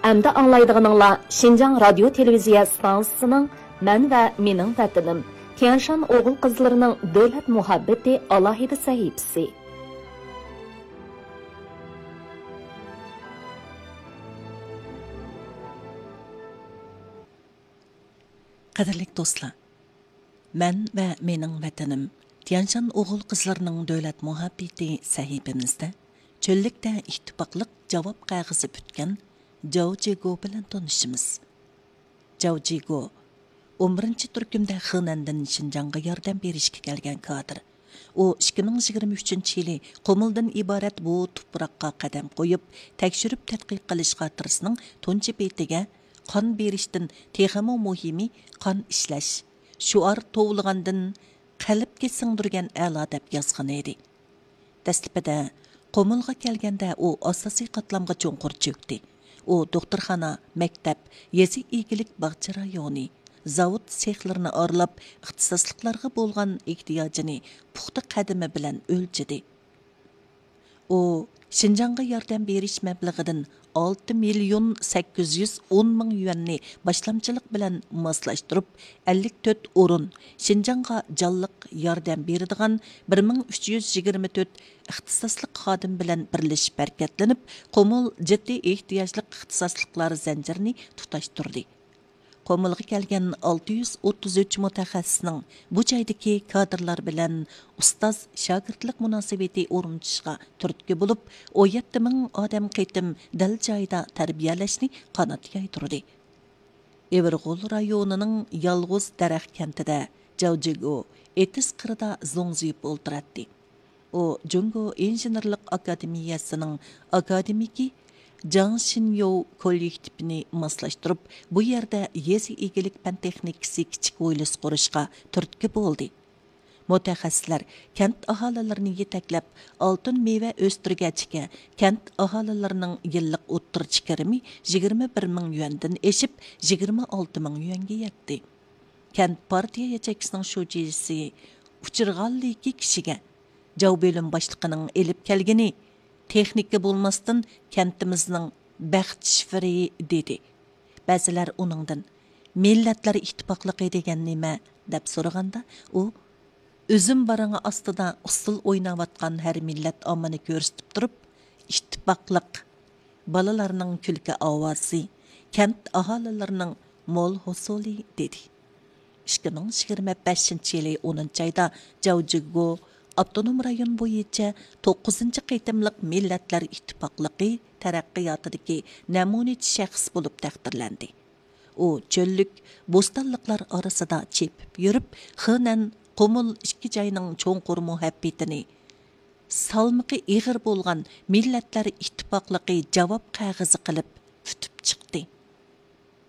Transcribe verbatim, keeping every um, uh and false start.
ئەمدى ئاڭلايدىغىنىڭلار شىنجاڭ رادىيو تېلېۋىزىيە ئىستانسىسىنىڭ مەن ۋە مېنىڭ ۋەتىنىم، تيەنشان ئوغۇل قىزلىرىنىڭ دۆلەت مۇھەببىتى ئالاھىدە سەھىپىسى. قەدىرلىك دوستلار، مەن ۋە مېنىڭ ۋەتىنىم، تيەنشان ئوغۇل قىزلىرىنىڭ دۆلەت مۇھەببىتى سەھىپىمىزدە چۆللۈكتە ئىتتىپاقلىق جاۋاب قەغىزى پۈتكەن جاۋ جىگو بىلەن تونۇشىمىز. جاۋ جىگو ئون بىرىنچى تۈركۈمدە خېنەندىن شىنجاڭغا ياردەم بېرىشكە كەلگەن كادىر. ئۇ ئىككى مىڭ يىگىرمە ئۈچىنچى يىلى قۇمۇلدىن ئىبارەت بۇ تۇپراققا قەدەم قويۇپ، تەكشۈرۈپ تەتقىق قىلىش خاتىرىسىنىڭ تۇنجى بېتىگە قان بېرىشتىن تېخىمۇ مۇھىمى قان ئىشلەش، شوئار توۋلىغاندىن قەلبكە سىڭدۈرگەن ئەلا دەپ يازغان ئىدى. دەسلىپىدە قۇمۇلغا كەلگەندە ئۇ ئاساسىي قاتلامغا چوڭقۇر چۆكتى. ئۇ دوختۇرخانا، مەكتەپ، يېزا ئىگىلىك باغچە رايونى، زاۋۇت سېخلىرىنى ئارىلاپ، ئىختىساسلىقلارغا بولغان ئېھتىياجىنى پۇختا قەدىمى بىلەن ئۆلچىدى. ئۇ شىنجاڭغا ياردەم بېرىش مەبلىغىدىن ئالتە مىليون سەككىز يۈز ئون مىڭ يۈەننى باشلامچىلىق بىلەن ماسلاشتۇرۇپ، ئەللىك تۆت ئورۇن، شىنجاڭغا جانلىق ياردەم بېرىدىغان بىر مىڭ ئۈچ يۈز يىگىرمە تۆت ئىختىساسلىق خادىم بىلەن بىرلىشىپ ھەرىكەتلىنىپ، قۇمۇل جىددىي ئېھتىياجلىق ئىختىساسلىقلار زەنجىرىنى تۇتاشتۇردى. قۇمۇلغا كەلگەن ئالتە يۈز ئوتتۇز ئۈچ مۇتەخەسسىسنىڭ بۇ جايدىكى كادىرلار بىلەن ئۇستاز شاگىرتلىق مۇناسىۋىتى ئورنىتىشىغا تۈرتكە بولۇپ، ئون يەتتە مىڭ ئادەم قېتىم دەل جايىدا تەربىيەلەشنى قانات يايدۇردى. ئېۋىرغول رايونىنىڭ يالغۇز دەرەخ كەنتىدە جاۋ جىگو ئېتىز قىرىدا زوڭزىيىپ ئولتۇراتتى. ئۇ جۇڭگو ئىنژېنېرلىق ئاكادېمىيەسىنىڭ ئاكادېمىكى جاڭ شىنيوۋ كوللېكتىپىنى ماسلاشتۇرۇپ، بۇ يەردە يېزا ئىگىلىك پەن تېخنىكىسى كىچىك ھويلىسى قۇرۇشقا تۈرتكە بولدى. مۇتەخەسسىسلەر كەنت ئاھالىلىرىنى يېتەكلەپ، ئالتۇن مېۋە ئۆستۈرگەچكە، كەنت ئاھالىلىرىنىڭ يىللىق ئوتتۇرىچە كىرىمى يىگىرمە بىر مىڭ يۈەندىن ئېشىپ، يىگىرمە ئالتە مىڭ يۈەنگە يەتتى. كەنت پارتىيە ياچېيكىسىنىڭ شۇجىسى ئۇچرىغانلىكى كىشىگە جاۋ بۆلۈم باشلىقىنىڭ ئېلىپ كەلگىنى تېخنىكا بولماستىن كەنتىمىزنىڭ بەخت شىفىرى، دېدى. بەزىلەر ئۇنىڭدىن، مىللەتلەر ئىتتىپاقلىقى دېگەن نېمە؟ دەپ سورىغاندا، ئۇ، ئۈزۈم بارىڭى ئاستىدا ئۇسسۇل ئويناۋاتقان ھەر مىللەت ئاممىنى كۆرسىتىپ تۇرۇپ، ئىتتىپاقلىق، بالىلارنىڭ كۈلكە ئاۋازى، كەنت ئاھالىلىرىنىڭ مول ھوسۇلى، دېدى. ئىككى مىڭ يىگىرمە بەشىنچى يىلى ئونىنچى ئايدا جاۋ جىگو ئاپتونوم رايون بويىچە توققۇزىنچى قېتىملىق مىللەتلەر ئىتتىپاقلىقى تەرەققىياتىدىكى نەمۇنىچى شەخس بولۇپ تەقدىرلەندى. ئۇ چۆللۈك، بوستانلىقلار ئارىسىدا چېپىپ يۈرۈپ، خېنەن، قۇمۇل ئىككى جاينىڭ چوڭقۇر مۇھەببىتىنى، سالمىقى ئېغىر بولغان مىللەتلەر ئىتتىپاقلىقى جاۋاب قەغىزى قىلىپ پۈتۈپ چىقتى.